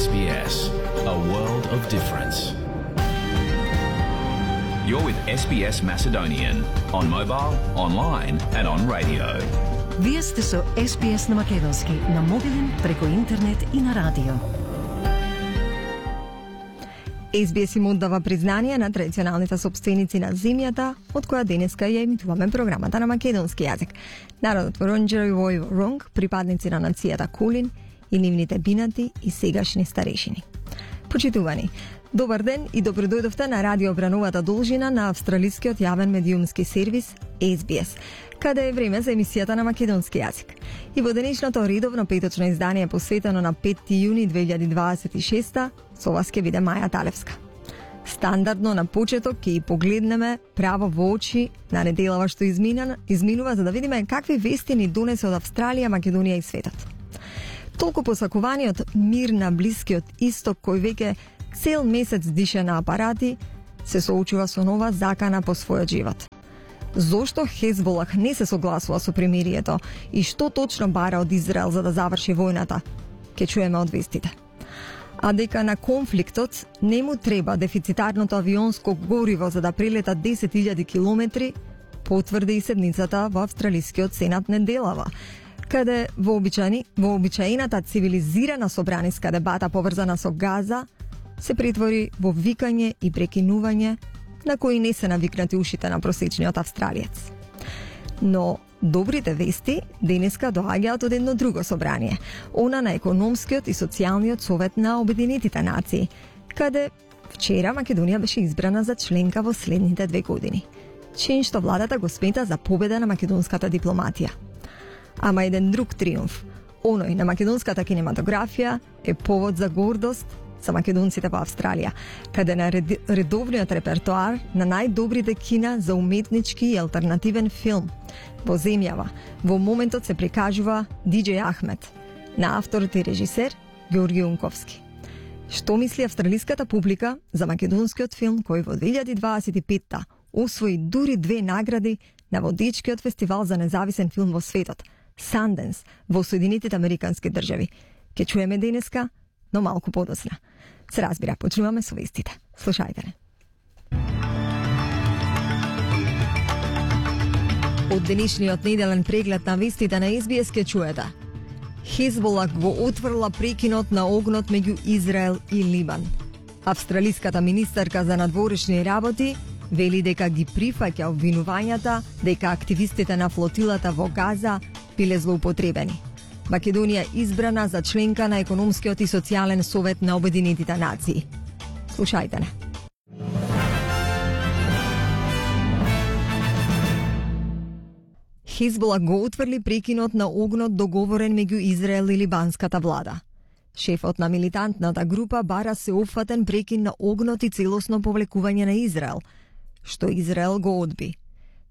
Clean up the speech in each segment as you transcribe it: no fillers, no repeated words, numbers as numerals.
SBS, a world of difference. You're with SBS Macedonian on mobile, online and on radio. Вие сте со SBS на македонски, на мобилен, преку интернет и на радио. SBS им оддава признание на традиционалните собственици на земјата, од која денеска ја емитуваме програмата на македонски јазик. Народот Воронџеро и Војво Ронг, припадници на нацијата Кулин и нивните бинати и сегашни старешини. Почитувани, добар ден и добро дојдовте на радиобрановата должина на австралискиот јавен медиумски сервис SBS, каде е време за емисијата на македонски јазик. И во денешното редовно петочно издание посветено на 5 јуни 2026, со вас ќе биде Маја Талевска. Стандардно на почеток ќе и погледнеме право во очи на неделава што изминува, за да видиме какви вести ни донесе од Австралија, Македонија и светот. Толку посакуваниот мир на Блискиот Исток, кој веќе цел месец дише на апарати, се соочува со нова закана по својот живот. Зошто Хезболах не се согласува со примирието и што точно бара од Израел за да заврши војната, ќе чуеме од вестите. А дека на конфликтот не му треба дефицитарното авионско гориво за да прелета 10.000 километри, потврди и седницата во Австралискиот Сенат неделава, каде вообичаената цивилизирана собраниска дебата поврзана со Газа се претвори во викање и прекинување на кои не се навикнати ушите на просечниот австралиец. Но добрите вести денеска доаѓаат од едно друго собрание, она на економскиот и социјалниот совет на Обединетите нации, каде вчера Македонија беше избрана за членка во следните 2 години. Чин што владата го смета за победа на македонската дипломатија. Ама еден друг триумф, оној на македонската кинематографија, е повод за гордост за македонците во Австралија, каде на редовниот репертоар на најдобрите кина за уметнички и алтернативен филм во земјава во моментот се прикажува Диџеј Ахмет, на авторот и режисер Ѓорги Унковски. Што мисли австралиската публика за македонскиот филм кој во 2025-та освои дури 2 награди на водечкиот фестивал за независен филм во светот, Sundance, во Соединетите Американски држави? Ке чуеме денеска, но малку подоцна. Се разбира, почнуваме со вестите. Слушајте не. Од денешниот неделен преглед на вестите на SBS ке чуете. Хезболах го отврла прекинот на огнот меѓу Израел и Либан. Австралиската министерка за надворешни работи вели дека ги прифаќа обвинувањата дека активистите на флотилата во Газа биле злоупотребени. Македонија избрана за членка на економскиот и социјален совет на Обединетите нации. Слушајте не. Хезболах го отврли прекинот на огнот договорен меѓу Израел и либанската влада. Шефот на милитантната група бара се опфатен прекин на огнот и целосно повлекување на Израел, што Израел го одби.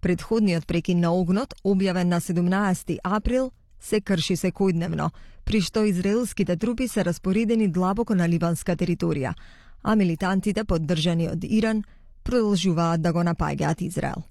Предходниот прекин на огнот, објавен на 17 април, се крши секојдневно, при што израелските трупи се распоредени длабоко на либанска територија, а милитантите, поддржани од Иран, продолжуваат да го напаѓаат Израел.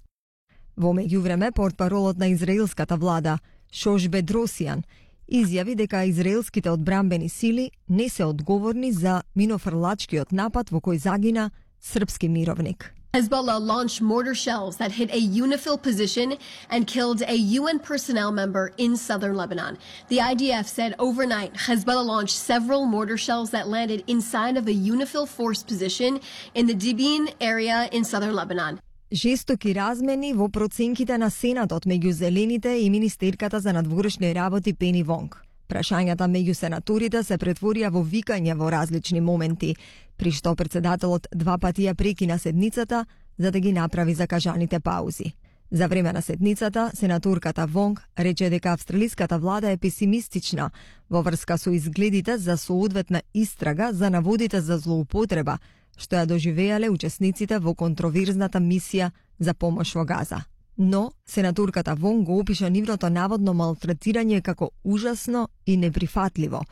Во меѓувреме, портпаролот на израелската влада, Шош Бедросијан, изјави дека израелските одбранбени сили не се одговорни за минофрлачкиот напад во кој загина српски мировник. Hezbollah launched mortar shells that hit a UNIFIL position and killed a UN personnel member in southern Lebanon. The IDF said overnight Hezbollah launched several mortar shells that landed inside of a UNIFIL force position in the Dibin area in southern Lebanon. Жестоки размени во проценките на Сенатот меѓу Зелените и Министерката за надворешни работи Пени Вонг. Прашањата меѓу сенаторите се претворија во викање во различни моменти, при што председателот 2 пати ја прекина седницата за да ги направи закажаните паузи. За време на седницата, сенаторката Вонг рече дека австралиската влада е песимистична во врска со изгледите за соодветна истрага за наводите за злоупотреба што ја доживеале учесниците во контроверзната мисија за помош во Газа. Но сенаторката Вонг го опиша нивното наводно малтретирање како ужасно и неприфатливо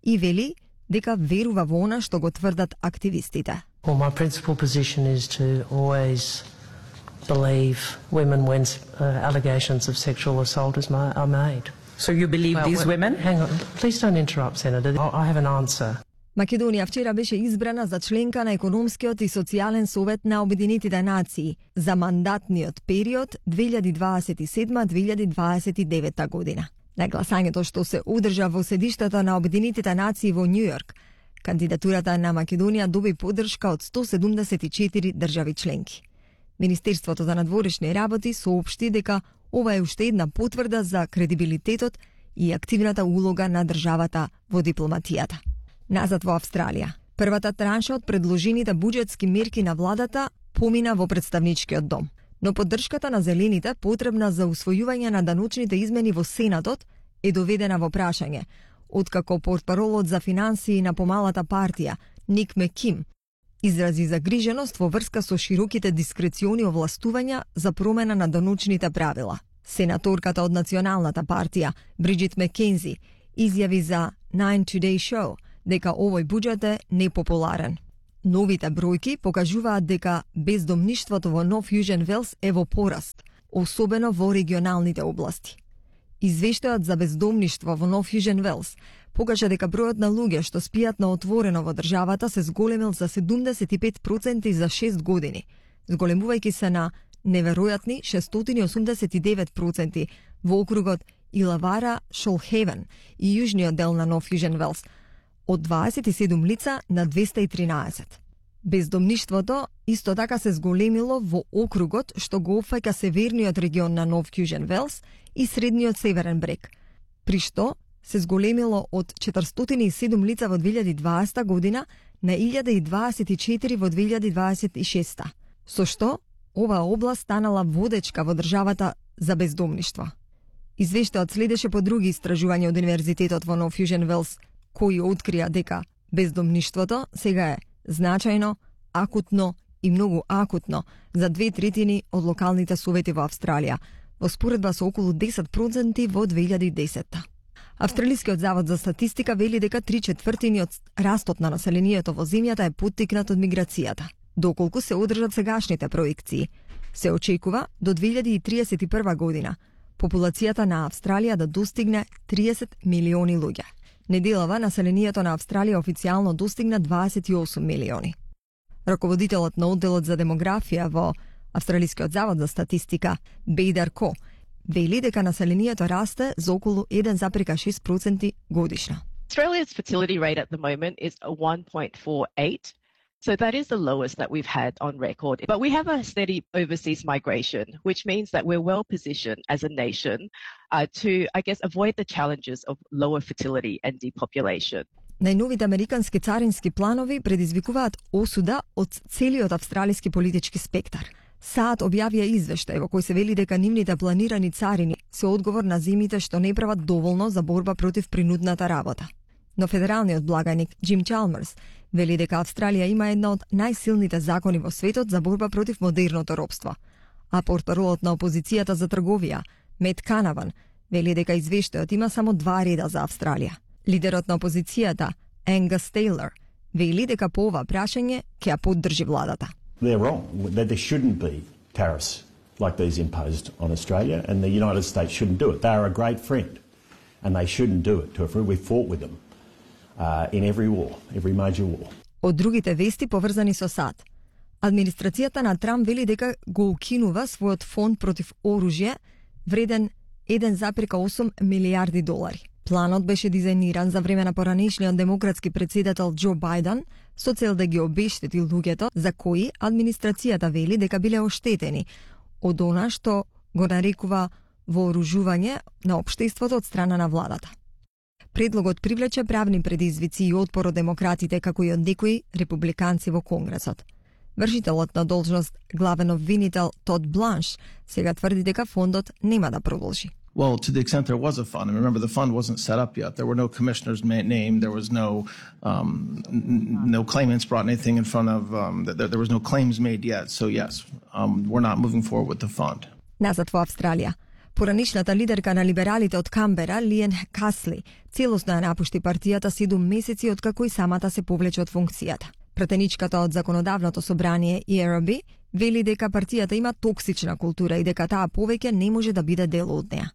и вели дека верува во она што го тврдат активистите. Well, my principal position is to always believe women when allegations of sexual assault are made. So you believe these women? Hang on, please don't interrupt, Senator. I have an answer. Македонија вчера беше избрана за членка на Економскиот и социјален совет на Обединетите нации за мандатниот период 2027-2029 година. На гласањето што се одржа во седиштата на Обединетите нации во Њујорк, кандидатурата на Македонија доби поддршка од 174 држави членки. Министерството за надворешни работи соопшти дека ова е уште една потврда за кредибилитетот и активната улога на државата во дипломатијата. Назад во Австралија. Првата транша од предложените буџетски мерки на владата помина во представничкиот дом. Но поддршката на зелените, потребна за усвојување на даночните измени во Сенатот, е доведена во прашање, откако портпаролот за финансии на помалата партија, Ник Меким, изрази загриженост во врска со широките дискрециони овластувања за промена на даночните правила. Сенаторката од Националната партија, Бриджит Маккензи, изјави за Nine Today Show дека овој буџет е непопуларен. Новите бројки покажуваат дека бездомништвото во Нов Јужен Велс е во пораст, особено во регионалните области. Извештајот за бездомништво во Нов Јужен Велс покажа дека бројот на луѓе што спијат на отворено во државата се зголемил за 75% за 6 години, зголемувајќи се на неверојатни 689% во округот Илавара, Шолхевен и јужниот дел на Нов Јужен Велс, од 27 лица на 213. Бездомништвото исто така се зголемило во округот што го опфаќа северниот регион на Нов Јужен Велс и средниот северен брег, при што се зголемило од 407 лица во 2020 година на 1024 во 2026, со што оваа област станала водечка во државата за бездомништво. Извештајот следеше по други истражувања од Универзитетот во Нов Јужен Велс, кои открија дека бездомништвото сега е значајно, акутно и многу акутно за 2/3 од локалните совети во Австралија, во споредба со околу 10% во 2010. Австралискиот завод за статистика вели дека 3/4 од растот на населението во земјата е поттикнат од миграцијата. Доколку се одржат сегашните проекции, се очекува до 2031 година популацијата на Австралија да достигне 30 милиони луѓе. Неделава населението на Австралија официјално достигна 28 милиони. Раководителот на одделот за демографија во Австралискиот завод за статистика, Бейдар Ко, вели дека населението расте за околу 1,6% годишно. Australia's fertility rate at the moment is 1.48. So that is the lowest that we've had on record. But we have a steady overseas migration, which means that we're well positioned as a nation to, I guess, avoid the challenges of lower fertility and depopulation. Најновите американски царински планови предизвикуваат осуда од целиот австралиски политички спектар. САД објавија извештај во кој се вели дека нивните планирани царини се одговор на земјите што не прават доволно за борба против принудната работа. Но федералниот благаник Джим Чалмерс вели дека Австралија има една од најсилните закони во светот за борба против модерното робство. А портпаролот на опозицијата за трговија, Мет Канаван, вели дека извештајот има само 2 реда за Австралија. Лидерот на опозицијата, Енгас Тейлор, вели дека по ова прашање ќе ја поддржи владата. They're wrong. There shouldn't be tariffs like these imposed on Australia, and the United States shouldn't do it. They are a great friend, and they shouldn't do it to a friend. We fought with them in every war, every major war. Од другите вести поврзани со САД. Администрацијата на Трамп вели дека го укинува својот фонд против оружје вреден 1,8 милијарди долари. Планот беше дизајниран за време на поранешниот демократски председател Џо Бајден со цел да ги обештети луѓето за кои администрацијата вели дека биле оштетени од она што го нарекува вооружување на општеството од страна на владата. Предлогот привлече правни предизвици и отпор од демократите како и од некои републиканци во Конгресот. Вршителот на должност главен обвинител Тод Бланш сега тврди дека фондот нема да продолжи. Well, to the extent there was a fund, and remember the fund wasn't set up yet. There were no commissioners named. There was no claimants brought anything in front of. There was no claims made yet. So yes, we're not moving forward with the fund. Назад во Австралија. Поранишната лидерка на либералите од Камбера, Лиен Касли, целосно ја напушти партијата 7 месеци откако и самата се повлече од функцијата. Пратеничката од законодавното собрание ERB вели дека партијата има токсична култура и дека таа повеќе не може да биде дел од неа.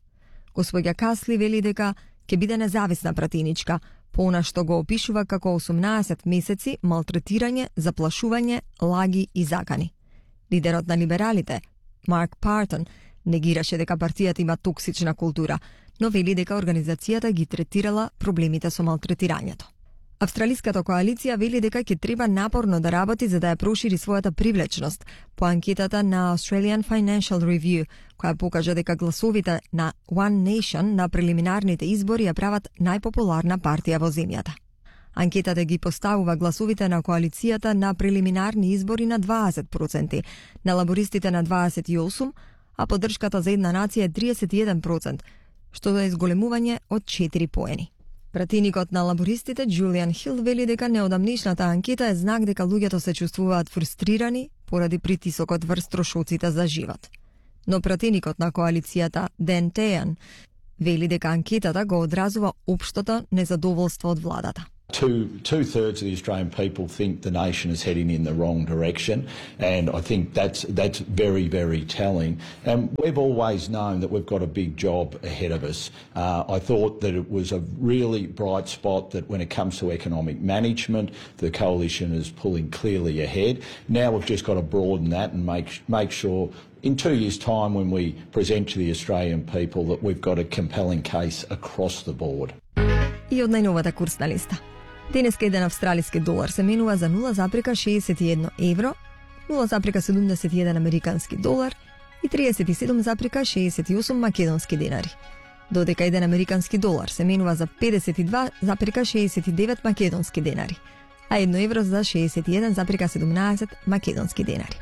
Господја Касли вели дека ќе биде независна пратеничка, Она што го опишува како 18 месеци малтретирање, заплашување, лаги и закани. Лидерот на либералите, Марк Партон, негираше дека партијата има токсична култура, но вели дека организацијата ги третирала проблемите со малтретирањето. Австралиската коалиција вели дека ќе треба напорно да работи за да ја прошири својата привлечност по анкетата на Australian Financial Review, која покажа дека гласовите на One Nation на прелиминарните избори ја прават најпопуларна партија во земјата. Анкетата ги поставува гласовите на коалицијата на прелиминарни избори на 20%, на лабористите на 28%, а поддршката за една нација е 31%, што е изголемување од 4 поени. Пратеникот на лабористите Джулиан Хил вели дека неодамнешната анкета е знак дека луѓето се чувствуваат фрустрирани поради притисокот врз трошоците за живот. Но пратеникот на коалицијата Ден Тејан вели дека анкетата го одразува општото незадоволство од владата. Two-thirds of the Australian people think the nation is heading in the wrong direction, and I think that's very, very telling. And we've always known that we've got a big job ahead of us. I thought that it was a really bright spot that when it comes to economic management, the coalition is pulling clearly ahead. Now we've just got to broaden that and make sure in 2 years' time when we present to the Australian people that we've got a compelling case across the board. И од најновата курсна листа. Денеска еден австралиски долар се менува за 0,61 евро, 0,71 американски долар и 37,68 македонски денари. Додека еден американски долар се менува за 52,69 македонски денари, а 1 евро за 61,17 македонски денари.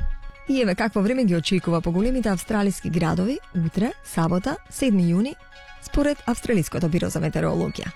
И еве какво време ги очекува по големите австралиски градови утре, сабота, 7 јуни, според Австралиското биро за метеорологија.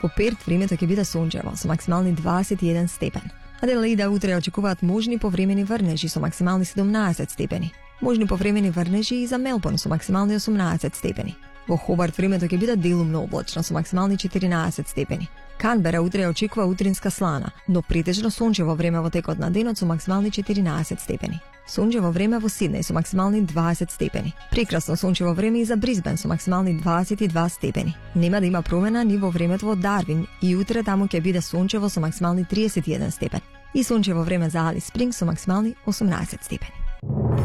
По Перт времето ќе биде сончево со максимални 21 степен. Аделаида утре очекуваат можни повремени врнежи со максимални 17 степени. Можни повремени врнежи и за Мелбурн со максимални 18 степени. Во Хобарт времето ќе биде делумно облачно со максимални 14 степени. Канбера утре очекува утринска слана, но претежно сончево време во текот на денот со максимални 14 степени. Сончево време во Сиднеј со максимални 20 степени. Прекрасно сончево време и за Брисбен со максимални 22 степени. Нема да има промена ни во времето во Дарвин и утре таму ќе биде сончево со максимални 31 степени. И сончево време за Алис Спрингс со максимални 18 степени.